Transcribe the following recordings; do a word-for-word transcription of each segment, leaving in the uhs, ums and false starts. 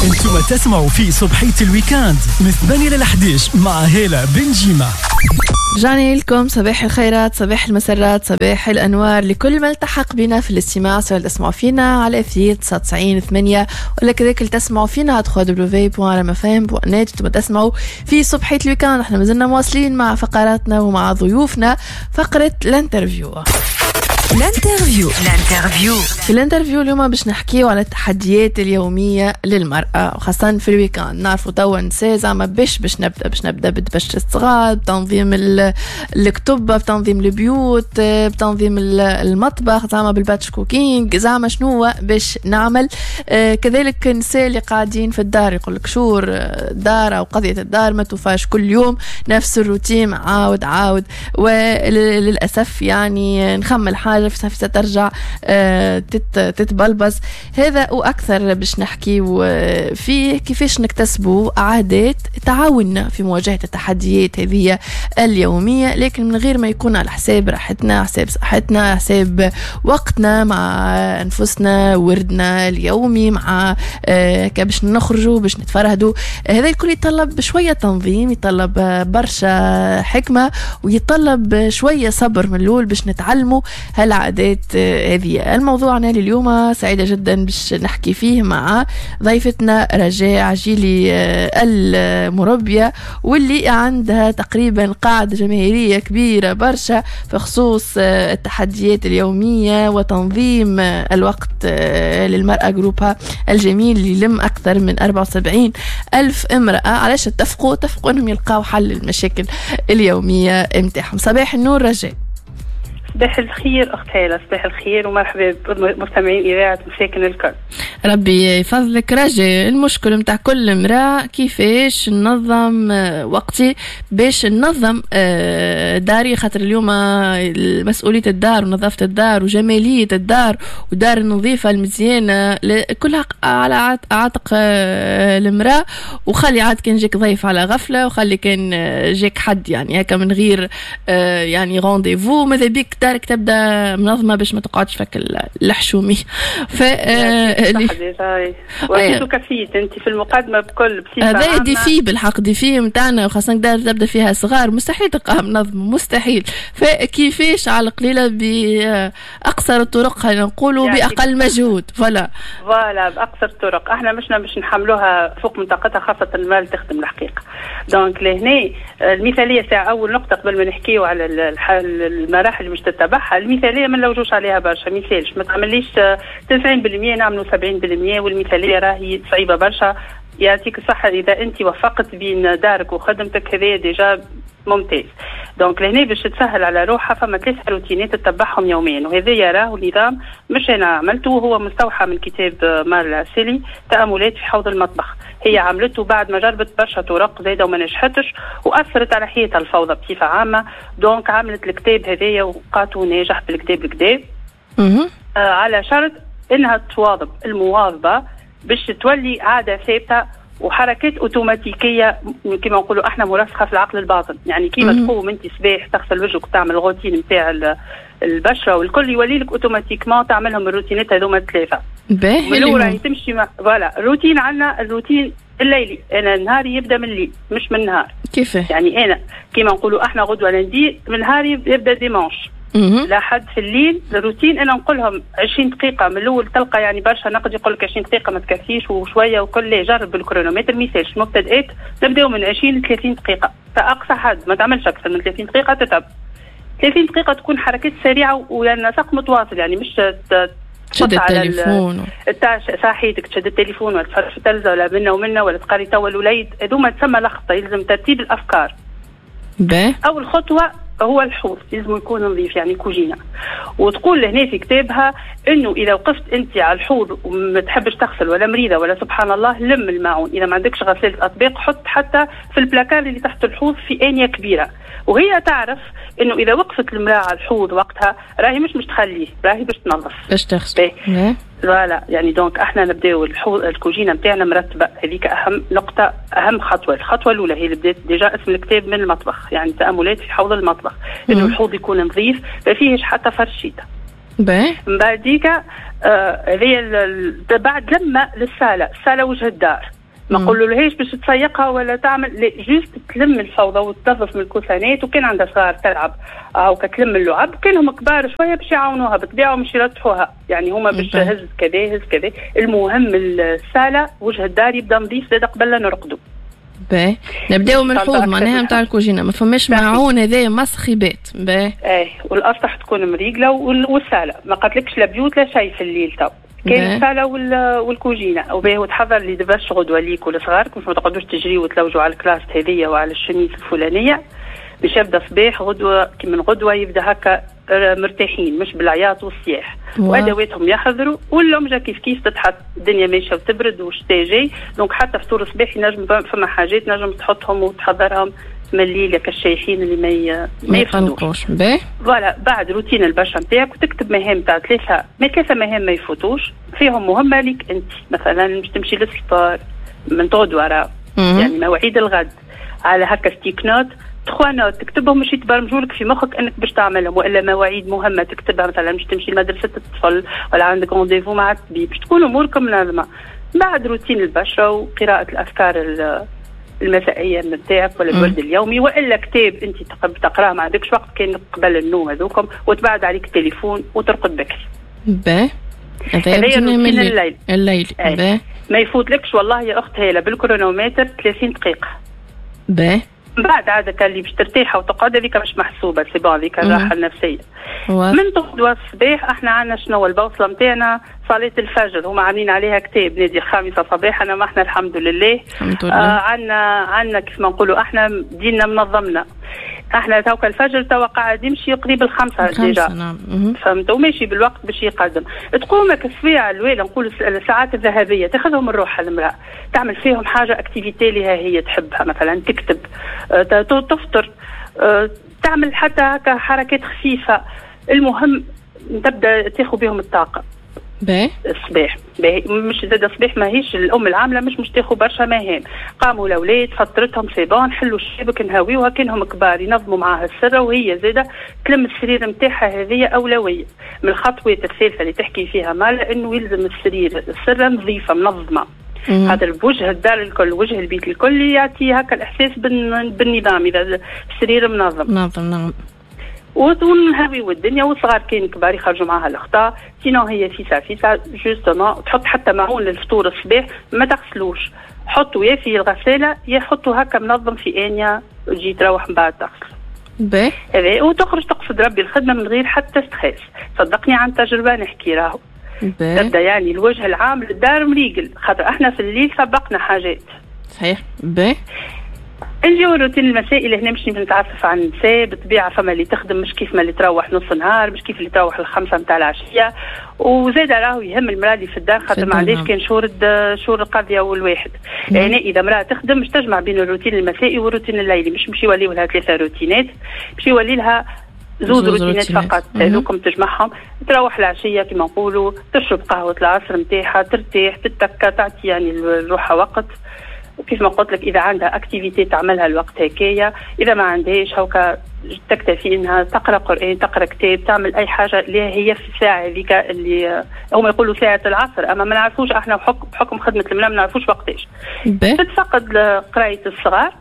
انتم تسمعوا في صبحية ال week-end من ثمانية ل أحد عشر مع هالة بن جيمة. رجعنا لكم، صباح الخيرات، صباح المسرات، صباح الأنوار لكل من التحق بنا في الاستماع، سواء تسمعوا فينا على أثير تسعة وتسعين ثمانية ولا كذلك تسمعوا فينا على www.rmfm.net. انتم تسمعوا في صبحية ال week-end. احنا مازلنا مواصلين مع فقراتنا ومع ضيوفنا، فقرة l'interview. l'interview، l'interview. في l'interview اليوم باش نحكيو على التحديات اليومية للمراة وخاصة في ال week-end. نعرفوا توا نساء زعما باش باش نبدا باش نبدا بدبش الصغار، بتنظيم الكتب، بتنظيم البيوت، بتنظيم المطبخ، زعما بال batch cooking، زعما شنو باش نعمل. آه، كذلك النساء اللي قاعدين في الدار يقول لك شور الدار او قضية الدار ما توفاش، كل يوم نفس الروتين، عاود عاود، وللاسف يعني نخمل حاجة في ترجع آه، تتبلبز. هذا واكثر باش نحكي فيه، كيفاش نكتسبوا عادات تعاوننا في مواجهة التحديات هذه اليوميه، لكن من غير ما يكون على حساب راحتنا، حساب صحتنا، حساب وقتنا مع انفسنا، وردنا اليومي مع آه، باش نخرجوا باش نتفرهدوا. هذا الكل يتطلب شوية تنظيم، يتطلب برشا حكمه، ويتطلب شوية صبر من الاول باش نتعلموا هالعادات هذه. الموضوع لليوم سعيدة جدا باش نحكي فيه مع ضيفتنا رجاء عجيلي آه، المربية، واللي عندها تقريبا قاعدة جماهيرية كبيرة برشا في خصوص آه، التحديات اليومية وتنظيم الوقت آه، للمرأة، groupe ها الجميل اللي يلم أكثر من أربعة وسبعين ألف امرأة. علاش اتفقوا؟ اتفقوا أنهم يلقاو حل للمشاكل اليومية متاعهم. صباح النور رجاء. صباح الخير اخت هاله، صباح الخير ومرحبا بمستمعين اذاعة مساكن الكل. ربي يفضلك رجاء. المشكل متاع كل امرأة كيفاش ننظم آه، وقتي باش ننظم آه، داري، خاطر اليوم مسؤولية الدار ونظافة الدار وجمالية الدار ودار النظيفة المزيانة كلها على عاتق آه، المرأة. وخلي عاد كان جاك ضيف على غفلة، وخلي كان جاك حد يعني هكا من غير يعني rendez-vous، ماذا بيك دارك تبدا منظمة باش ما تقعدش فك الحشومي. ف وفيت وكفيت انت في المقدمة بكل بصفة هذا défi، بالحق défi نتاعنا، وخاصة دار تبدا فيها صغار مستحيل تلقاها منظمه، مستحيل. فكيفاش على القليلة باقصر الطرق، خلينا نقولوا يعني باقل مجهود، voilà. voilà، باقصر الطرق. احنا مشنا باش نحملوها فوق من طاقتها، خاصة المال تخدم الحقيقه. donc لهنا المثالية ساعه، اول نقطة قبل ما نحكيو على المراحل اللي مش تتبعها، المثالية ما نلوجوش عليها برشا. مثالش ما تعمليش تسعين بالمية، نعملوا سبعين بالمية، والمثاليه راهي صعيبة برشا. يعطيك الصحة إذا أنت وفقت بين دارك وخدمتك، هذا déjà ممتاز. donc لهنا باش تسهل على روحها فما ثلاث روتينات تتبعهم يوميا، وهذا يراه نظام مش انا عملته، هو مستوحى من كتاب مارلا سيلي تاملات في حوض المطبخ. هي عملته بعد ما جربت برشا طرق زايدة وما نجحتش واثرت على حياتها الفوضى بصفة عامه، donc عملت الكتاب هذايا ولقاته ناجح بالكدا بالكدا، آه على شرط انها تواظب. المواظبة باش تولي عادة ثابتة وحركات اوتوماتيكيه كما نقولوا احنا مرسخه في العقل الباطن. يعني كيما تقوم انت صباح تغسل وجهك وتعمل روتين نتاع البشرة والكل، يولي لك automatiquement تعملهم الروتينات هذوما الثلاثه. باهي. الاولى تمشي مع voilà الروتين. عندنا الروتين الليلي، انا نهاري يبدا من الليل مش من النهار. كيف؟ يعني انا كيما نقولوا احنا غدوه lundi، من نهاري يبدا dimanche لحد في الليل. الروتين انا نقول لهم عشرين دقيقة من الاول. تلقى يعني برشا نقد يقول لك عشرين دقيقة ما تكفيش وشوية وكل. جرب بال chronomètre، ميسالش. مبتدئات نبداو من عشرين ل ثلاثين دقيقة كاقصى حد، ما تعملش اكثر من ثلاثين دقيقة تتعب. ثلاثين دقيقة تكون حركات سريعة ويعني نسق متواصل، يعني مش تشد التليفون. صحيتك، تشد التليفون ولا تفرج في التلفزة ولا منا ومنا ولا تقري توا الوليد، هذوما تسمى لخبطه. يلزم ترتيب الافكار. باهي. اول خطوة هو الحوض لازم يكون نظيف، يعني كوجينه. وتقول لهنا في كتابها انه اذا وقفت انت على الحوض وما تحبش تغسل ولا مريضه ولا سبحان الله، لم الماعون. اذا ما عندكش غسالة اطباق حط حتى في البلاكار اللي تحت الحوض في انية كبيره. وهي تعرف انه اذا وقفت المراة على الحوض وقتها راهي مش مش تخليه، راهي باش تنظف. باش تغسل. voilà، يعني donc احنا نبداو الحوض، الكوجينه نتاعنا مرتبه، هذيك اهم نقطه، اهم خطوه. الخطوة الاولى هي اللي بدات déjà اسم الكتاب من المطبخ، يعني تاملات في حوض المطبخ، انه الحوض يكون نظيف ما فيهش حتى فرشيطه. باهي. من بعديك هذه آه بعد لما للصاله، الصاله وجه الدار، ما نقولولهاش باش تسيقها ولا تعمل، لا juste تلم الفوضى وتنظف من الكوسانات، وكان عندها صغار تلعب او كتلم اللعب، كانهم كبار شوية باش يعاونوها بالطبيعة ومش يرتحوها، يعني هما باش هز كذا هز كذا. المهم الصاله وجه الدار يبدا نظيف زاد قبل لا نرقدوا. باهي نبداو من الحوض معناها نتاع الكوجينه، ما فماش معون هذايا مسخ يبات. باهي ايه، والاسطح تكون مريقله والصاله ما قالتلكش لا بيوت لا شيء في الليل تو، كاين الصاله والكوجينه. وباهي وتحضر لي دبش غدوه ليك ولصغارك باش ما تقعدوش تجريو وتلوجوا على ال classe هذيا وعلى الشميس الفلانية، باش يبدا صباح غدوه كي من غدوه يبدا هكا مرتاحين مش بالعياط والصياح، وادواتهم يحضروا واللمجه كيف كيف تتحط، الدنيا ماشية وتبرد والشتاء جاي، donc حتى فطور الصباح ينجم فما حاجات نجم تحطهم وتحضرهم من الليل كالشايحين اللي ما ي... ما يفوتوش. voilà بعد روتين البشرة نتاعك وتكتب مهام تاع ثلاثة ما ثلاثة مهام ما يفوتوش، فيهم مهمة ليك انت، مثلا باش تمشي لل sport من غدوه راه يعني مواعيد الغد، على هكا sticky note trois notes تكتبهم باش يتبرمجوا لك في مخك انك باش تعملهم، والا مواعيد مهمة تكتبها مثلا باش تمشي لمدرسة الطفل ولا عندك rendez-vous مع الطبيب، باش تكون اموركم منظمة. بعد روتين البشرة وقراءة الافكار المسائيه نتاعك ولا الورد اليومي والا كتاب انت تقراه ما عندكش وقت كان قبل النوم هذوكم، وتبعد عليك التليفون وترقد بكري. باهي هذا روتين الليل. الليل باهي ما يفوتلكش والله يا اخت هاله بال chronomètre ثلاثين دقيقة. باهي من بعد عادة اللي باش ترتاح وتقعد هذيك مش محسوبة، c'est bon هذيك الراحة النفسية. من غدوه الصباح احنا عندنا شنو البوصلة نتاعنا؟ صلاة الفجر، هما عاملين عليها كتاب نادي الخامسة صباحا، ما احنا الحمد لله الحمد لله آه عندنا عندنا كيف ما نقولوا احنا ديننا منظمنا. احنا توك الفجر توا قاعد يمشي قريب الخمسة déjà، نعم. فهمت، وماشي بالوقت باش يقدم. تقوم السويعه الاولى نقول الساعات الذهبية تاخذهم الروح المراة، تعمل فيهم حاجة activité لها هي تحبها، مثلا تكتب، تفطر، تعمل حتى حركات خفيفة، المهم تبدا تاخذ بهم الطاقة. باهي الصباح باهي، مش زاد الصباح ماهيش الام العاملة مش مش تاخذ برشا مهام، قاموا الاولاد فطرتهم c'est bon، حلوا الشبك نهاويوها كانهم كبار ينظموا معاها السرة، وهي زاده تلم السرير نتاعها، هذه اولوية. من الخطوات الثالثة اللي تحكي فيها مال انه يلزم السرير السرة نظيفة منظمة، هذا بوجه الدار الكل وجه البيت الكل يعطي هكا الاحساس بالنظام اذا السرير منظم. منظم نعم. ونهوي والدنيا والصغار كان كبار يخرجوا معاها الخطا، sinon هي فيسا فيسا justement تحط حتى معون للفطور الصباح ما تغسلوش، حطوا يا في الغسالة يا حطوا هكا منظم في انيا وتجي تروح من بعد تغسل. باهي. وتخرج تقصد ربي الخدمة من غير حتى stress، صدقني عن تجربه نحكي راهو. تبدا يعني الوجه العام للدار مريقل، خاطر احنا في الليل سبقنا حاجات. صحيح. باهي. نجيو الروتين المسائي اللي هنا مش نتعفف عن النساء، بالطبيعة فما اللي تخدم مش كيف ما اللي تروح نص نهار، مش كيف اللي تروح الخمسة نتاع العشية، وزاد راهو يهم المراة اللي في الدار خاطر ما عندهاش كان شهور شهور القضية والواحد. يعني اذا امراة تخدم مش تجمع بين الروتين المسائي والروتين الليلي، مش مش يوليو لها ثلاثة روتينات، مش يولي لها زوز روتينات فقط، هذوكم تجمعهم، تروح العشية كما نقولوا، تشرب قهوة العصر نتاعها، ترتاح، تتكى، تعطي يعني لروحها وقت. وكيف ما قلت لك اذا عندها activité تعملها الوقت هكايا، اذا ما عندهاش هوكا تكتفي انها تقرا قران، تقرا كتاب، تعمل اي حاجة اللي هي في الساعة هذيك اللي هم يقولوا ساعة العصر، اما ما نعرفوش احنا بحكم بحكم خدمة المراة ما نعرفوش وقتاش. تتفقد قرايه الصغار،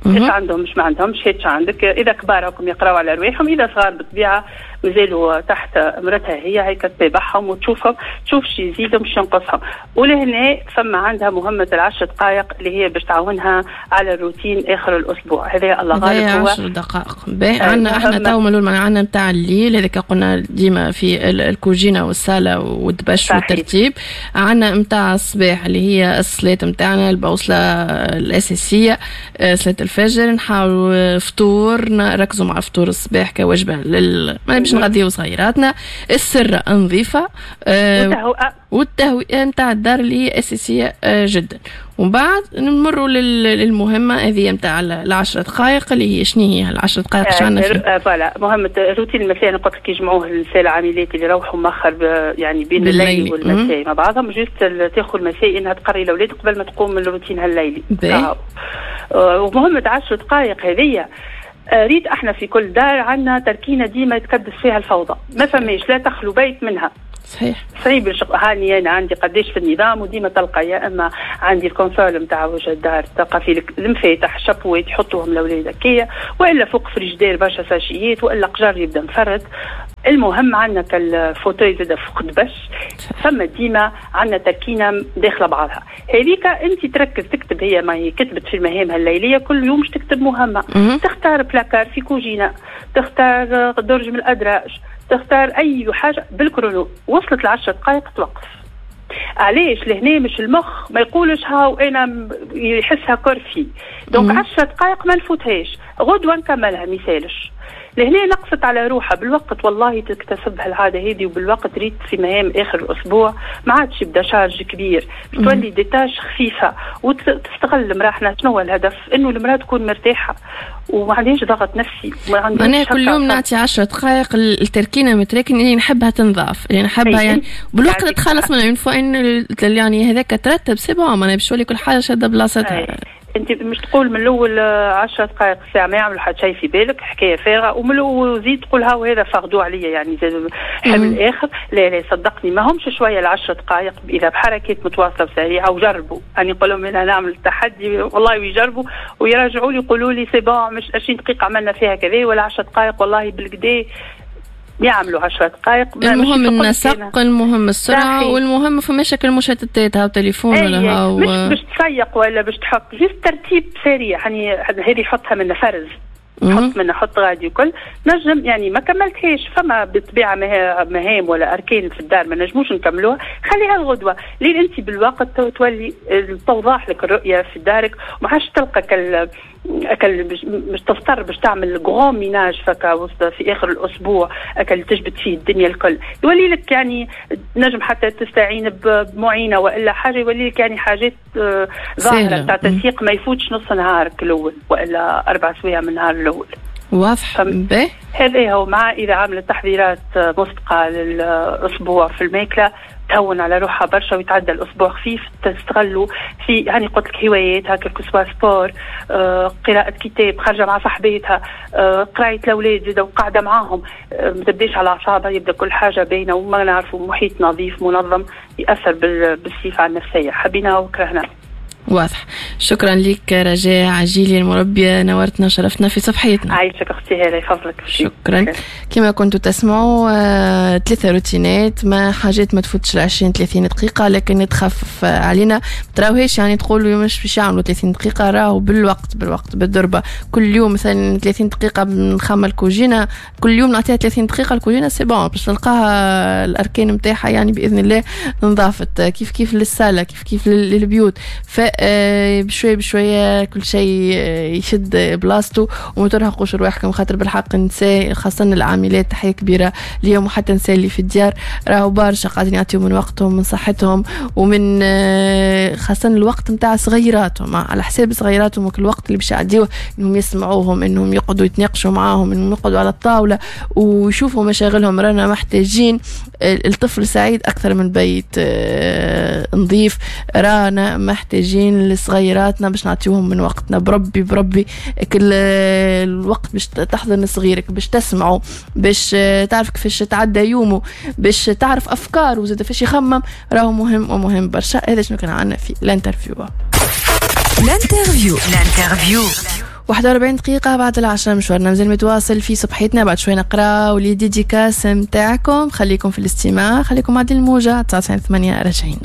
ايش عندهم مش ما عندهمش، هيك عندك اذا كبار راكم يقراوا على رواحهم، اذا صغار بالطبيعة مازالوا تحت امرتها هي، هيك تتابعهم وتشوفهم، تشوف شي يزيدهم شي ينقصهم. ولهنا فما عندها مهمة العشر دقائق اللي هي باش تعاونها على الروتين اخر الاسبوع، هذا الله غالب هو عشر دقائق. باهي عندنا احنا تو ملول عندنا نتاع الليل هذاك قلنا ديما في الكوجينه والصاله والدبش والترتيب، عندنا نتاع الصباح اللي هي الصلاة نتاعنا البوصلة الاساسية صلاة الفجر، نحاولوا فطور، نركزوا مع فطور الصباح كوجبه لل ما باش نغذيو صغيراتنا، السرة نظيفة آه والتهوئه نتاع الدار اللي هي اساسية آه جدا. ومن بعد نمروا للمهمه هذه نتاع العشر دقائق اللي هي شنو هي العشر دقائق شو عندنا فيها؟ voilà مهمة روتين المساء انا قلت لك يجمعوه النساء العاملات اللي يروحوا مأخر يعني بين الليل والمساء مع بعضهم، juste تاخذ المساء انها تقري الاولاد قبل ما تقوم من روتينها الليلي. ومهمة عشر دقائق هذه ريت احنا في كل دار عندنا تركينه ديما يتكدس فيها الفوضى، ما فماش لا تخلو بيت منها. صحيح. صعيب. هاني انا عندي قداش في النظام، وديما تلقى يا اما عندي ال console نتاع وجه الدار تلقى فيه المفاتح الشابوات يحطوهم الاولاد هكايا، والا فوق فريجدير برشا sachets، والا قجر يبدا مفرد. المهم عندنا كال fauteuil زاد فوق دبش، فما ديما عندنا تركينه داخله بعضها. هذيك انت تركز تكتب، هي ما هي كتبت في المهام الليلية كل يوم مش تكتب مهمة، تختار بلاكار في كوجينه، تختار درج من الادراج، تختار اي حاجة بال chrono. وصلت لعشر دقائق توقف. علاش؟ لهنا مش المخ ما يقولش هاو انا يحسها corvée، donc عشر دقائق ما نفوتهاش، غدوه نكملها ميسالش. لهنا نقصت على روحها بالوقت، والله تكتسب هالعاده هذه، وبالوقت ريت في مهام اخر الاسبوع ما عادش يبدا charge كبير، تولي des tâches خفيفة وتستغل المراة. احنا شنو هو الهدف؟ انه المراة تكون مرتاحة وما عندهاش ضغط نفسي. وما عندهاش. انا كل يوم نعطي عشر دقائق التركينه متراكن اللي نحبها تنظاف، اللي نحبها يعني بالوقت تخلص منها une fois انه يعني هذاك ترتب c'est bon، معناها باش تولي كل حاجة شاده بلاصتها. انت مش تقول من الاول عشر دقائق ساعة ما يعملوا حتى شيء في بالك، حكاية فارغة، ومن الاول زيد تقول ها وهذا fardeau عليا يعني زاد حمل اخر. لا لا صدقني ما همش شوية العشر دقائق اذا بحركات متواصلة وسريعة. وجربوا، انا نقول لهم انا نعمل التحدي والله، ويجربوا ويراجعوا لي يقولوا لي c'est bon، مش عشرين دقيقة عملنا فيها كذا ولا عشر دقائق، والله بالكدا يعملوا عشر دقائق. المهم النسق، المهم السرعة، والمهم فماش المشتتات، هاو تليفون ولا هاو مش باش تسيق ولا باش تحط، juste ترتيب سريع يعني هذه حطها من فرز، حط من حط غادي وكل نجم يعني ما كملتهاش. فما بالطبيعة مهام ولا اركان في الدار ما نجموش نكملوها، خليها الغدوه لين انت بالوقت تولي توضح لك الرؤية في دارك، وما عادش تلقى كال اكل مش تضطر باش تعمل grand ménage فكا وسط في اخر الاسبوع اكل تجبد فيه الدنيا الكل. يولي لك يعني نجم حتى تستعين بمعينه والا حاجة، يولي لك يعني حاجات آه، ظاهره تاع تسييق ما يفوتش نص نهارك الاول والا اربع سوايع من النهار الاول. واضح. هذا هو. مع اذا عملت تحضيرات مسبقة للاسبوع في الماكلة تهون على روحها برشا ويتعدى الاسبوع خفيف. تستغلوا في يعني قلت لك هوايات هكا، soit sport، آه، قراءة كتاب، خارجة مع صاحباتها، آه، قراية الأولاد زاد وقاعدة معاهم، آه، ما تبداش على أعصابها، يبدا كل حاجة باينة وما نعرفوا محيط نظيف منظم يأثر بالصفة على النفسية، حبينا وكرهنا. واضح. شكرا لك رجاء عجيلي المربية، نورتنا وشرفتنا في صفحتنا. عايشك اختي هالة، يفضلك. شكرا. كما كنتوا تسمعوا آه، ثلاثة روتينات ما حاجات ما تفوتش ال عشرين ثلاثين دقيقة، لكن تخفف علينا. تراوهيش يعني تقولوا مش باش يعملوا ثلاثين دقيقة، راهو بالوقت بالوقت بالضربة. كل يوم مثلا ثلاثين دقيقة نخمل كوجينة، كل يوم نعطيها ثلاثين دقيقة الكوجينة c'est bon باش تلقاها الأركان نتاعها يعني بإذن الله نظافت. كيف كيف للسالة، كيف كيف للبيوت، ف آه، بشوية بشوية كل شيء آه، يشد بلاصتو. وما ترهقوش رواحكم خاطر بالحق النساء خاصة العاملات، تحية كبيرة ليهم، وحتى النساء اللي في الديار راهو برشا قاعدين يعطيو من وقتهم من صحتهم ومن آه، خاصة الوقت نتاع صغيراتهم، على حساب صغيراتهم، وكل الوقت اللي باش يعديوه انهم يسمعوهم، انهم يقعدوا يتناقشوا معاهم، انهم يقعدوا على الطاولة ويشوفوا مشاغلهم. رانا محتاجين الطفل سعيد اكثر من بيت نظيف. رانا محتاجين لصغيراتنا باش نعطيوهم من وقتنا. بربي بربي كل الوقت باش تحضن صغيرك، باش تسمعه، باش تعرف كيفاش تعدى يومه، باش تعرف افكاره وزاد فاش يخمم، راهو مهم ومهم برشا. هذا شنو كان عندنا في l'interview. l'interview l'interview. واحد وأربعين دقيقة بعد العشرة، مشوارنا مازال متواصل في صبحيتنا. بعد شوي نقرا les dédicaces نتاعكم. خليكم في الاستماع، خليكم مع الموجة تسعة وتسعين ثمانية، راجعين.